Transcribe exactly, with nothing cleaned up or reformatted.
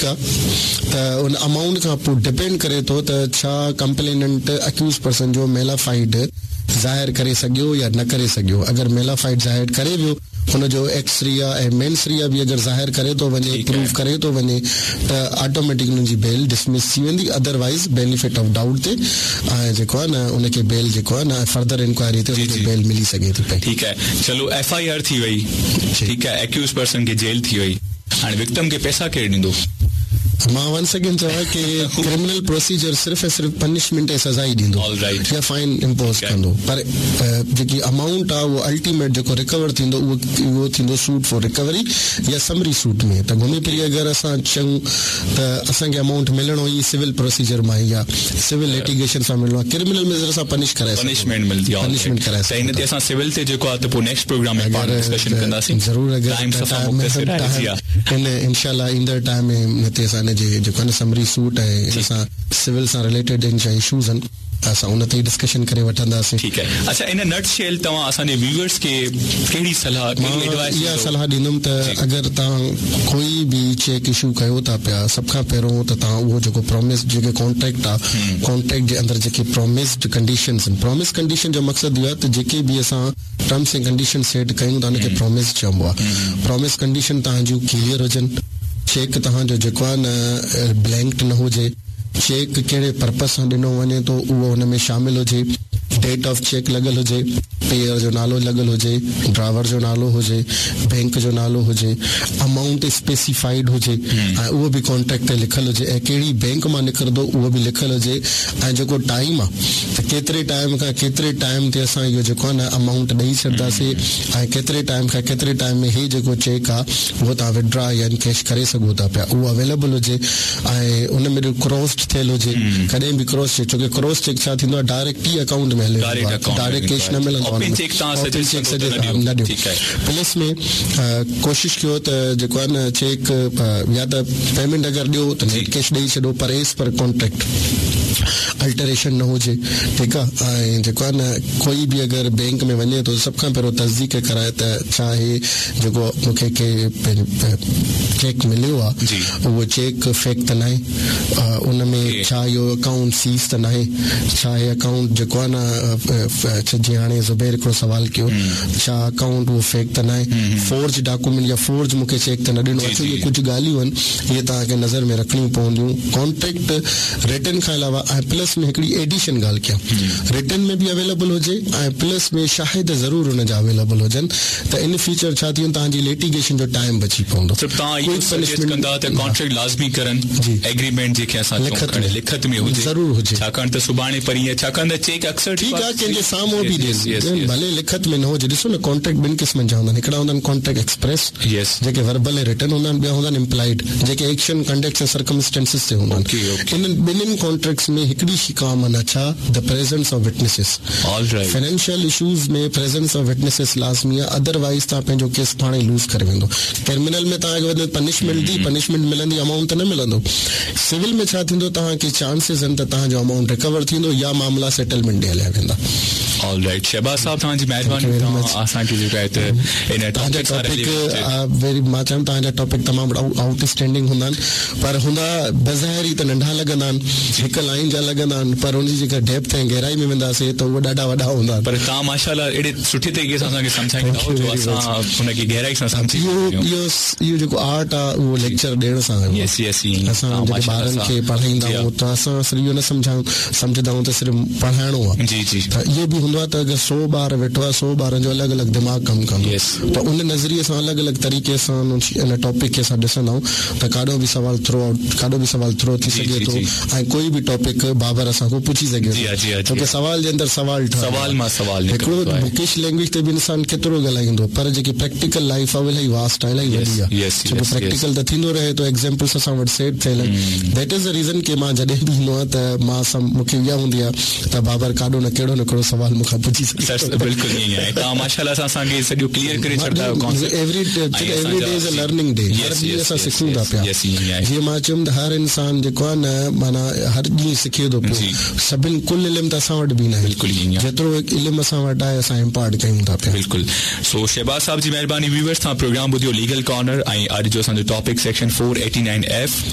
ٺيڪ آهي ته ان امائونٽ کان پوءِ ڊپينڊ ڪري ٿو ته ڇا ڪمپليننٽ اڪيوز پرسن جو ميلافائيڊ ظاهر ڪري سگهيو يا نه ڪري سگهيو. اگر ميلافائيڊ ظاهر ڪري ويو، هن جو ايڪسريا ۽ مينسريا به اگر ظاهر ڪري ٿو وڃي، پروف ڪري ٿو وڃي، ته آٽوميٽڪ هن جي بيل ڊسمس ٿي ويندي. ادروائز بينيفٽ آف ڊائوٽ تي ۽ جيڪو آهي نه ان کي بيل جيڪو آهي نه فردر انڪوائري تي ان کي بيل ملي سگهي ٿي پئي. ٺيڪ آهي، چلو ايف I R ٿي وئي، ٺيڪ آهي، اڪيوز پرسن کي جيل ٿي وئي، هاڻي وڪٽم کي پئسا ڪير ڏيندو؟ مان ونس اگين چوان ڪه ڪرمنل پروسيجر صرف ۽ صرف پنشمينٽ ۽ سزا ئي ڏيندو يا فائن امپوز ڪندو، پر جيڪي امائونٽ آهي اهو الٽيميٽ جيڪو رڪور ٿيندو اهو اهو ٿيندو سوٽ فار رڪوري يا سمري سوٽ ۾. ته گهمي ڦري اگر اسان چئون ته اسان کي امائونٽ ملڻو ئي سول پروسيجر مان ئي آهي، سول لٽيگيشن سان ملڻو آهي. ڪرمنل ۾ اسان پنش ڪرائي پنشمينٽ ملندي آهي، پنشمينٽ ڪرائي. ته هن تي اسان سول تي جيڪو آهي ته پوءِ نيڪسٽ پروگرام ۾ پاڻ ڊسڪشن ڪنداسين. ضرور، اگر ٽائيم صفا مختصر آهي. هن انشاء الله ايندڙ ٽائيم ۾ هتي اسان هن جي جيڪو آهي نه سمري سوٽ ۽ هن سان سول سان رليٽيڊ ان جا اشوز آهن ته اسان ان تي ئي ڊسڪشن ڪري وٺنداسين. ٺيڪ آهي. اڇا، ان نٽ شيل توهان اسان جي ويوئرس کي ڪهڙي صلاح، ڪهڙي ايڊوائس؟ اها صلاح ڏيندم ته اگر توهان ڪوئي به چيڪ اشو ڪيو ٿا پيا، سڀ کان پهريون ته توهان اهو جيڪو پرومس، جيڪي ڪانٽريڪٽ آهي، ڪانٽريڪٽ جي اندر جيڪي پرومسڊ ڪنڊيشنس آهن. پرومس ڪنڊيشن جو مقصد اهو آهي ته جيڪي به اسان ٽرمس ۽ ڪنڊيشن سيٽ ڪيون ٿا ان کي پرومس چئبو آهي. پرومس ڪنڊيشن توهان جون ڪليئر هجن، چيڪ توهان جو جيڪو آهي نه بلينڪ نه هجي، چيڪ ڪهڙي پرپز سان ڏنو وڃي ٿو اهو هن ۾ شامل هجي، ڊيٽ آف چيڪ لڳل هجي، پيئر جو نالو لڳل هجي، ڊرائيور جو نالو هجي، بينڪ جو نالو هجي، امائونٽ اسپيسيفائيڊ هجي ۽ اهو به ڪانٽريڪٽ تي لکيل هجي، ۽ ڪهڙي بينڪ مان نڪرندو اهو به لکيل هجي، ۽ جيڪو ٽائيم آهي ته ڪيتري ٽائيم کان ڪيتري ٽائيم تي اسان اهو جيڪو آهي نه امائونٽ ڏيئي ڇڏينداسين ۽ ڪيتري ٽائيم کان ڪيتري ٽائيم ۾ هي جيڪو چيڪ آهي اهو توهان وڊرا يا ڪيش ڪري سگهو ٿا پيا، اهو اويليبل هجي ۽ ان ۾ ڪراس ٿيل هجي. ڪڏهن به ڪراس چيڪ، ڇو ڪه ڪراس چيڪ ڇا ٿيندو آهي، ڊائريڪٽ ئي اڪائونٽ ۾ هلي ويندو آهي، ڊائريڪٽ ڪيش نه ملندو آهي. اوپن چيڪ نه ڏيو. پلس ۾ ڪوشش ڪيو ته جيڪو آهي نه چيڪ يا ته پيمينٽ اگر ڏيو ته نيٽ ڪيش ڏيئي ڇڏو، پر ايز پر ڪانٽريڪٽ الٽريشن نه هجي. ٺيڪ آهي، ۽ جيڪو آهي نه ڪوئي به اگر بينڪ ۾ وڃي ٿو، سڀ کان پهريون تصديق ڪرائي ته ڇا هي جيڪو مون کي چيڪ مليو آهي اهو چيڪ فيڪ ته نه آهي، ان ۾ ڇا اهو اڪائونٽ سيز ته نه آهي، ڇا هي اڪائونٽ جيڪو آهي نه، جيئن هاڻي زبير هڪڙو سوال ڪيو، ڇا اڪائونٽ اهو فيڪ ته نه آهي، فورج ڊاڪيومينٽ يا فورج مون کي چيڪ ته نه ڏنو. اڇا، اهي ڪجهه ڳالهيون آهن، اهي توهان کي نظر ۾ رکڻيون پونديون ڪانٽريڪٽ رٽن کان علاوه. ۽ پلس ۾ هڪڙي ايڊيشن ڳالهه ڪيان، رٽن ۾ به اويليبل هجي ۽ پلس ۾ شاهد ضرور هن جا اويليبل هجن ته ان فيوچر ڇا ٿي ويندو، توهان جي لٽيگيشن جو ٽائيم بچي پوندو. توهان اهو سجيسٽ ڪندا ته ڪانٽريڪٽ لازمي ڪرن، ايگريمينٽ جيڪي اسان لکت ۾ لکت ۾ هجي، ضرور هجي، ڇاڪاڻ ته سڀاڻي پرينءَ، ڇاڪاڻ ته چيڪ اڪثر ٺيڪ آهي ڪنهن جي سامهون به ڏين، ڀلي لکت ۾ نه هجي. ڏسو نه، ڪانٽريڪٽ ٻن قسمن جا هوندا آهن. هڪڙا هوندا آهن ڪانٽريڪٽ ايڪسپريس، جيڪي وربل ۽ رٽن هوندا آهن، ٻيا هوندا آهن امپلائيڊ، جيڪي ايڪشن، ڪنڊڪٽس ۽ سرڪمسٽينسز تي هوندا آهن. انهن ٻنهن ڪانٽريڪٽس ۾ هڪڙي شيءِ ڪامن آهي، ڇا؟ The presence of witnesses. Financial issues ۾ presence of witnesses لازمي آهي، ادروائز توهان پنهنجو ڪيس پاڻ ئي لوز ڪري ويندو. ڪرمنل ۾ توهان کي وڌ پنشمينٽ the punishment ملندي، امائونٽ ته نه ملندو. سول ۾ ڇا ٿيندو، توهان کي چانسز آهن ته توهان جو امائونٽ رڪور ٿيندو يا معاملا سيٽلمينٽ ڏي هليا ويندا. آل رائٽ، شهباز صاحب، توهان جي مهرباني، توهان اسان کي جيڪو آهي ته ان توهان جا ٽاپڪ ويري، مان چوان توهان جا ٽاپڪ تمام آئوٽ اسٽينڊنگ هوندا آهن، پر هوندا بظاهر ئي ته ننڍا لڳندا آهن، هڪ لائن جا لڳندا آهن، پر ان جي جيڪا ڊيپٿ ۽ گهرائي ۾ وينداسين ته اهي ڏاڍا وڏا هوندا آهن. پر توهان ماشاء الله اهڙي سٺي طريقي سان اسان کي سمجهائيندا آهيو جو اسان هن کي گهرائي سان سمجهي اهو اهو اهو جيڪو آرٽ آهي اهو ليڪچر ڏيڻ سان آيو. يس يس اسان جڏهن ٻارن کي پڙهائيندا آهيون ته اسان صرف اهو نه سمجهايون سمجهندا آهيون ته صرف پڙهائڻو آهي. جي جي ته اهو به هوندو آهي ته اگر سؤ ٻار ويٺو آهي، سؤ ٻارن جو الڳ الڳ دماغ ڪم ڪندو، ته ان نظريي سان الڳ الڳ طريقي سان ان ٽاپڪ کي اسان ڏسندا آهيون ته ڪاڏو به سوال ٿرو آئوٽ، ڪاڏو به سوال ٿرو ٿي سگهي ٿو ۽ ڪوئي به ٽاپڪ بابر اسان کان پڇي سگهي ٿو، ڇو ڪه سوال جي اندر سوال ٺهندو. سوال مان سوال. هڪڙو بڪش لينگويج تي به انسان ڪيترو ڳالهائيندو، پر جيڪي پريڪٽيڪل لائيف آهي اها الاهي واسٽ آهي، الاهي وڏي آهي، ڇو ڪه پريڪٽيڪل ته ٿيندو رهي ٿو، ايگزامپلس اسان وٽ سيٽ ٿيل آهن. That is the reason ڪه مان جڏهن به ايندو آهيان ته مان سم مون کي اها هوندي آهي ته بابر ڪاڏو نه ڪهڙو نه ڪهڙو سوال مون کان پڇي سگهي. بلڪل ائين آهي، توهان ماشاء الله سان اسان کي سڄو ڪليئر ڪري ڇڏندا آهيو concept. Every every day is a learning day, هر ڏينهن اسان سکون ٿا پيا. جيئن مان چيم ته هر انسان جيڪو آهي نه معنيٰ هر ڏينهن سکي ٿو پيو. سڀني ڪل علم ته اسان وٽ به نه آهي، بلڪل جيترو علم اسان وٽ آهي اسان امپارٽ ڪيون ٿا پيا. بلڪل، سو شهباز صاحب جي مهرباني. ويورس، توهان پروگرام ٻڌيو ليگل ڪارنر ۽ اڄ جو اسان جو topic section four eighty nine F P